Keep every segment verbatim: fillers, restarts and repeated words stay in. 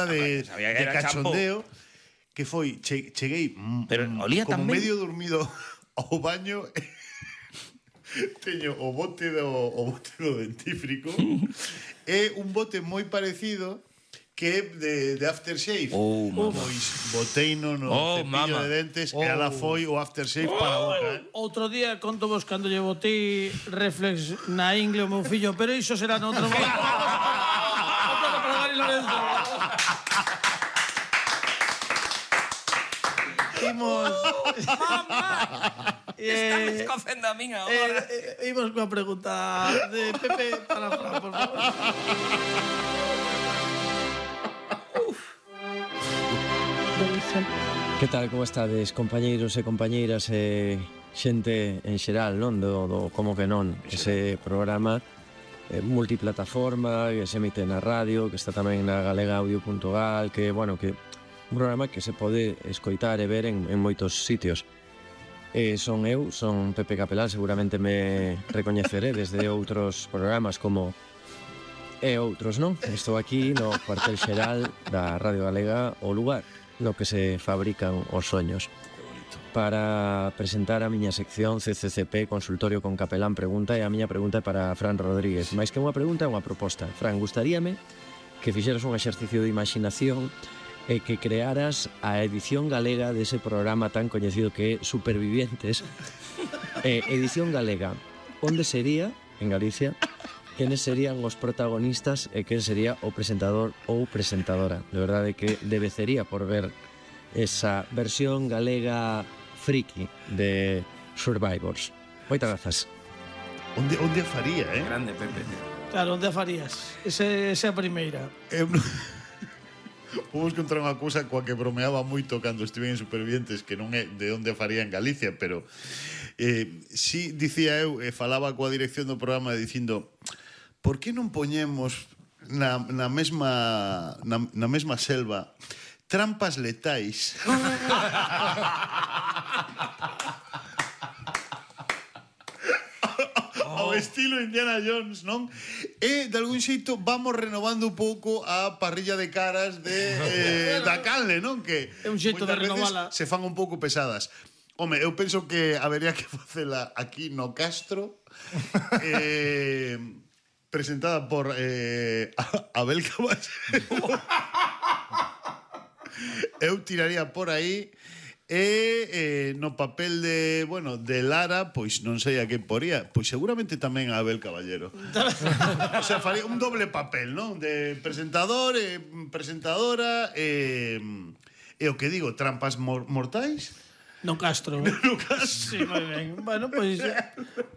de, de cachondeo champú. Que foi, che, cheguei Pero olía como tamén medio dormido ao baño. Teño o bote do o bote do dentífrico e un bote moi parecido que é de, de aftershave. Oh, pois boteino no oh, cepillo mama. de dentes oh. e ala foi o aftershave oh. para a boca. Eh? Outro día conto vos cando lle botei reflex na ingle o meu fillo, pero iso será noutro momento. Outro para Dani Lorenzo. Imos... Mamá! Está me escocendo a min agora. Eh, eh, imos coa pregunta de Pepe para Fran, por favor. Que tal, como estades, compañeiros e compañeiras e xente en xeral, non? Do, do como que non, ese programa eh, multiplataforma que se emite na radio, que está tamén na galega audio punto gal, que, bueno, que un programa que se pode escoitar e ver en, en moitos sitios. Eh, son eu, son Pepe Capelán, seguramente me recoñeceredes de outros programas como e outros, non? Estou aquí no cuartel xeral da Radio Galega, o lugar no que se fabrican os soños. Para presentar a miña sección C C C P, Consultorio con Capelán Pregunta, e a miña pregunta é para Fran Rodríguez. Mais que unha pregunta é unha proposta. Fran, gustaríame que fixeras un exercicio de imaginación e que crearas a edición galega dese programa tan coñecido que é Supervivientes. eh, edición galega, onde sería, en Galicia, quenes serían os protagonistas e quen sería o presentador ou presentadora. De verdade que debecería por ver esa versión galega friki de Survivors. Moitas grazas. Onde, onde a faría, eh? Grande, Pepe. Claro, onde a farías? Ese, esa primeira. Eu non... Vamos contar unha cousa coa que bromeaba moito cando estive en Supervivientes, que non é de onde a faría en Galicia, pero eh, si dicía eu, e falaba coa dirección do programa dicindo, por que non poñemos na, na mesma na, na mesma selva trampas letais? Ao estilo Indiana Jones, non? E, de algún xeito, vamos renovando un pouco a parrilla de caras de, eh, da canle, non? Que é un xeito de renovala. Se fan un pouco pesadas. Home, eu penso que habería que facela aquí no Castro, eh, presentada por eh, Abel Caballero. Eu tiraría por aí. E eh, no papel de, bueno, de Lara, pois non sei a quen poría, pois seguramente tamén a Abel Caballero. O sea, faría un doble papel, non? De presentador e presentadora e, e o que digo, trampas mor mortais. No Castro. No Castro. Sí, moi ben. Bueno, pois pues,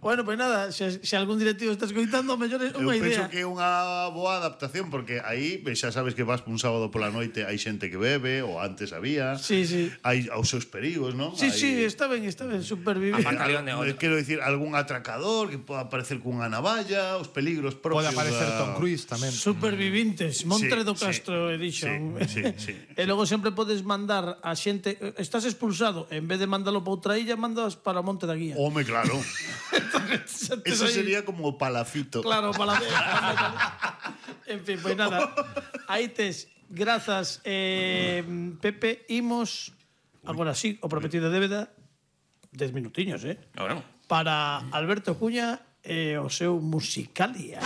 bueno, pois pues nada, se, se algún directivo está escoitando, mellor é unha idea. Eu penso que é unha boa adaptación, porque aí xa sabes que vas un sábado pola noite, hai xente que bebe, ou antes había. Sí, sí. Hai os seus perigos, non? Sí, hai... sí, está ben, está ben, supervivir. Eh, quero dicir, algún atracador que poda aparecer cunha navalla, os peligros propios. Pode aparecer da... Tom Cruise tamén. Supervivintes, Montre sí, do Castro sí, Edition. Sí, sí, sí. E logo sempre podes mandar a xente, estás expulsado, en vez de mandalo para outra illa, mandas para o Monte da Guía. Home, claro. Eso sería como o Palafito. Claro, Palafito. En fin, pois pues nada. Aí tes, grazas, eh, Pepe, imos agora sí, o prometido de débeda, dez minutiños, eh? Bueno. Para Alberto Cuña e o seu Musicalia.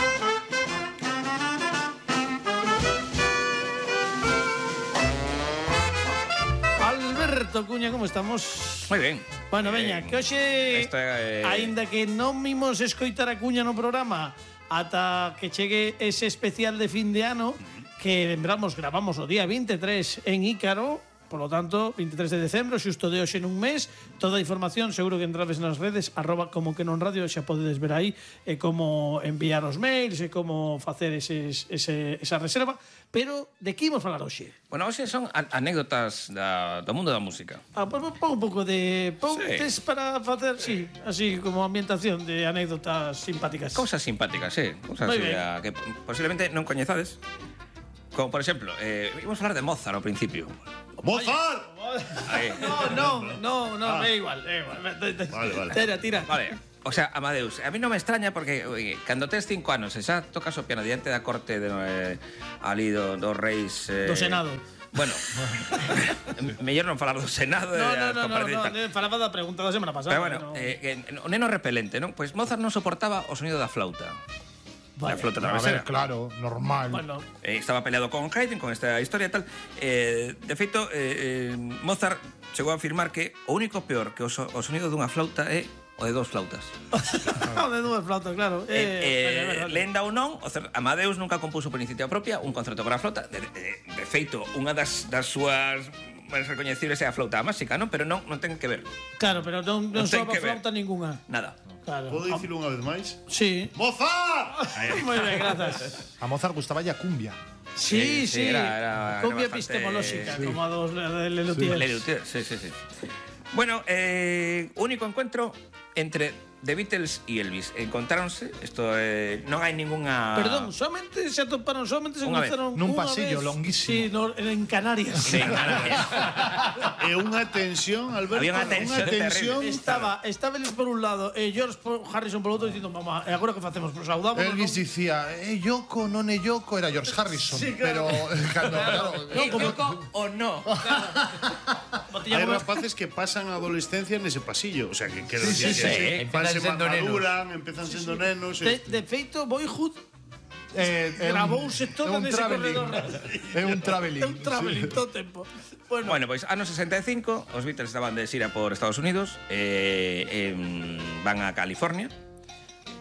Alberto Cuña, como estamos? Moi ben. Bueno, veña, eh, que hoxe, esta, eh... aínda que non mimos escoitar a Cuña no programa ata que chegue ese especial de fin de ano, que lembramos, gravamos o día vinte e tres en Ícaro, polo tanto, vinte e tres de decembro, xusto de hoxe nun mes. Toda a información seguro que entrades nas redes arroba como que non radio, xa podedes ver aí e como enviar os mails e como facer eses, ese, esa reserva. Pero de que imos falar hoxe? Bueno, hoxe son anécdotas da, do mundo da música. Ah, pon pues, un pouco de pontes sí. para facer, sí, así como ambientación de anécdotas simpáticas. Cousas simpáticas, sí. Cousas a, que posiblemente non coñezades. Como, por exemplo, eh, íbamos a falar de Mozart ao principio. ¡Mozart! No, no, no, no, ah. é igual, é igual. Vale, vale. Tira, tira. Vale. O sea, Amadeus, a mí non me extraña porque oye, cando tes cinco anos e xa tocas o piano diante da corte de, eh, ali do, dos reis... Eh, do Senado. Bueno, mellor non falar do Senado. No, no, no, no, no, no falaba da pregunta da semana pasada. Pero bueno, no. eh, o neno repelente, non? Pois Mozart non soportaba o sonido da flauta. Vale. La flauta A travesera. ver, claro, normal. Bueno, Eh, estaba peleado con Haydn, con esta historia e tal. Eh, de feito, eh, eh, Mozart chegou a afirmar que o único peor que o, so, o sonido dunha flauta é o de dos flautas. o de dúas flautas, claro. Eh, eh, lenda ou non, o cer- Amadeus nunca compuso por iniciativa propia un concerto para a flauta. De, de, de feito, unha das, das súas máis recoñecibles é a flauta máxica, non? Pero non, non ten que ver. Claro, pero non, non Non ten soaba que ver. flauta ninguna. Nada. Claro. Podo dicilo unha vez máis? Sí. Mozart! Moi ben, grazas. A Mozart gustaba ya cumbia. Sí, Sí, sí, sí. era- era- era Cumbia bastante- epistemolóxica, sí. como a dos de Lelutier. Le Luthier, sí, sí, sí. Bueno, eh, único encuentro entre The Beatles e Elvis. Encontráronse, isto eh, non hai ningunha... Perdón, solamente se atoparon, solamente se Unha vez. cruzaron Nun unha pasillo vez. longuísimo. Sí, no, en Canarias. Sí, Canarias. E unha tensión, Alberto. Había unha tensión terrible. Estaba, estaba Elvis por un lado e George por Harrison por outro dicindo, mamá, e agora que facemos? Pues saudamos. Elvis dicía, eh, Yoko, non é Yoko, era George Harrison. Sí, claro. Pero, eh, cando, claro, E Yoko o no. Hai rapaces que pasan a adolescencia nese pasillo. O sea, que quero Sí, dicir sí, que sí. se- van se Empezan sendo maduran, empezan sendo nenos. De, e- de feito, Boyhood eh, é un- gravouse é todo un nese traveling. corredor. É un traveling. É un traveling todo o tempo. Bueno, Bueno, pois anos sesenta e cinco, os Beatles estaban de xira por Estados Unidos, eh, eh, van a California.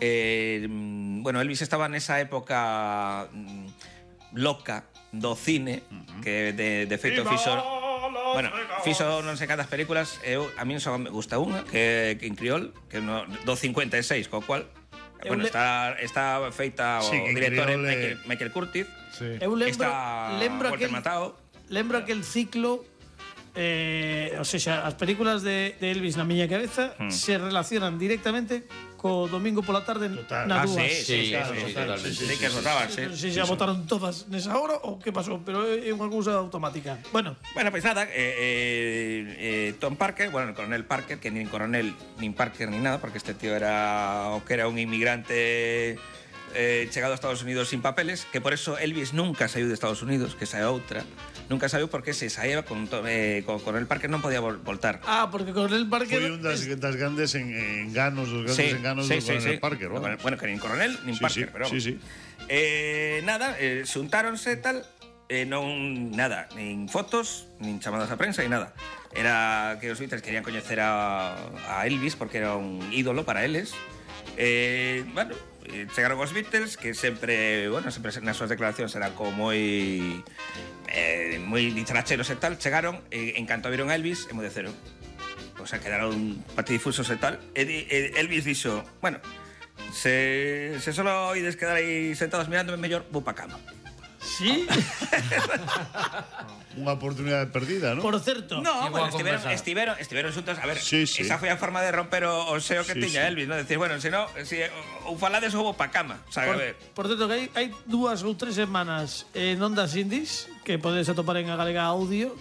Eh, bueno, Elvis estaba nesa época mm, loca do cine, que de, de feito fixo... Bueno, fixo non sei cantas películas, eu, a mí só me gusta unha, que, que en criol, que no, do cincuenta e seis, co cual... Eu Bueno, le- está, está feita o Sí, que en director é criol é- Michael, Michael Curtiz. Sí. eu lembro, Está lembro Walter aquel, Matthau. lembro aquel ciclo eh, o sea, as películas de, de Elvis na miña cabeza se relacionan directamente co domingo pola tarde Total. na Ah, dúas. sí, sí, sí, claro, sí, sí, totalmente. sí, sí, que rotaban, sí. Non sei se xa votaron todas nesa hora ou que pasou, pero é unha cousa automática. Bueno, Bueno, pues nada, eh, eh, eh, Tom Parker, bueno, el coronel Parker, que nin coronel, nin Parker, ni nada, porque este tío era o que era un inmigrante eh, chegado a Estados Unidos sin papeles, que por eso Elvis nunca saiu de Estados Unidos, que sae outra, nunca saiu porque se saía con, to- eh, con coronel Parker non podía vol voltar. ah, porque con el Parker Foi un das, das grandes en, enganos, dos grandes Sí, enganos sí, do sí, Coronel sí. Parker, Bueno, vamos. bueno, que nin coronel, nin Sí, Parker, sí, pero sí, sí. Eh, nada, eh, xuntáronse tal, eh, non nada, nin fotos, nin chamadas a prensa, nin nada. Era que os Beatles querían coñecer a, a Elvis porque era un ídolo para eles. Eh, bueno, eh, chegaron os Beatles, que sempre, bueno, sempre nas súas declaracións eran como moi eh, moi dicharacheros e tal. Chegaron, e en canto viron a Elvis, emudeceron. O sea, quedaron patidifusos e tal. E, di- e Elvis dixo, bueno, se, se solo oides quedar aí sentados mirándome, mellor vou pa cama. Sí, Unha oportunidade perdida, ¿no? por certo. No, Sí, bueno, boa estiveron, conversa. estiveron, estiveron xuntos. A ver, Sí, sí. esa foi a forma de romper o, o seo que Sí, tiña sí. Elvis, ¿no? Decir, bueno, se no, si ou falades ou vou pa cama. O sea, a Por, ver. por certo, que hai, hai dúas ou tres semanas en Ondas Indies, que podedes atopar en a Galega Audio,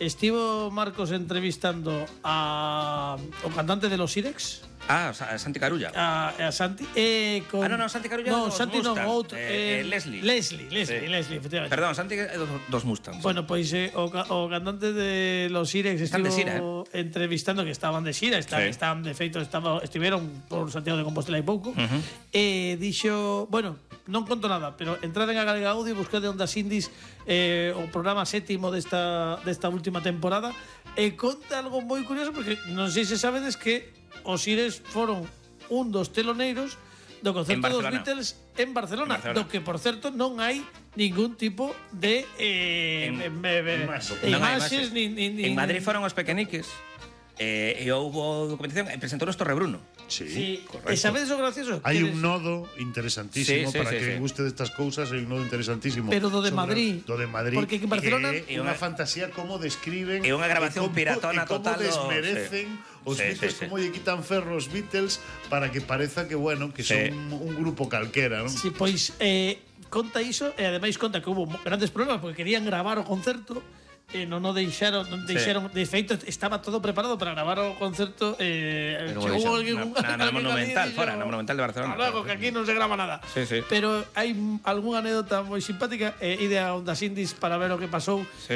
estivo Marcos entrevistando a o cantante de los Irex, Ah, Sa- Santi Carulla. a, a Santi, e con... Ah, no, no, Santi Carulla No, dos Santi non, Mustang. outro. Eh, eh, Leslie. Leslie, Leslie, Sí. Leslie, efectivamente. Perdón, Santi é dos, dos Mustangs. Bueno, pois eh, o, ca- o cantante de los Irex Están de estivo xira, entrevistando, que estaban de xira, están, Sí. están de feito, estaba, estiveron por Santiago de Compostela hai pouco, e dixo, bueno, non conto nada, pero entrad en a Galega Audio e buscade Ondas Indies, eh, o programa sétimo desta, desta última temporada, e conta algo moi curioso, porque non sei se sabedes que os Irex foron un dos teloneiros do concerto En dos Barcelona. Beatles en Barcelona, En Barcelona. do que, por certo, non hai ningún tipo de eh, En- em- em- em- imaxe. de Non hai imaxes, imaxes. ni, ni, ni, En Madrid foron os pequeniques, eh, e houbo documentación, e presentou Torre Bruno. Sí, Sí, correcto. e sabedes o gracioso? Hai Que un des- nodo interesantísimo Sí, sí, para sí, que sí. guste destas cousas, hai un nodo interesantísimo. Pero do de Sobre- Madrid. Do de Madrid. Porque en Barcelona- É É unha unha- fantasía como describen É unha grabación e como- piratona e como total do- desmerecen sí. os Sí, Beatles, sí, sí. como lle quitan ferro os Beatles para que pareza que, bueno, que Sí. son un, un grupo calquera, non? Sí, pois eh, conta iso e ademais conta que hubo mo- grandes problemas porque querían gravar o concerto e non o deixaron, non deixaron, de feito estaba todo preparado para gravar o concerto eh, Pero chegou deixaron. alguén- Na, na alguén Monumental, ali e fora, dixo, na Monumental de Barcelona. "Hasta luego, que aquí non se grava nada". Sí, sí. Pero hai algunha anécdota moi simpática, e ide a Ondas Indies para ver o que pasou, Sí, que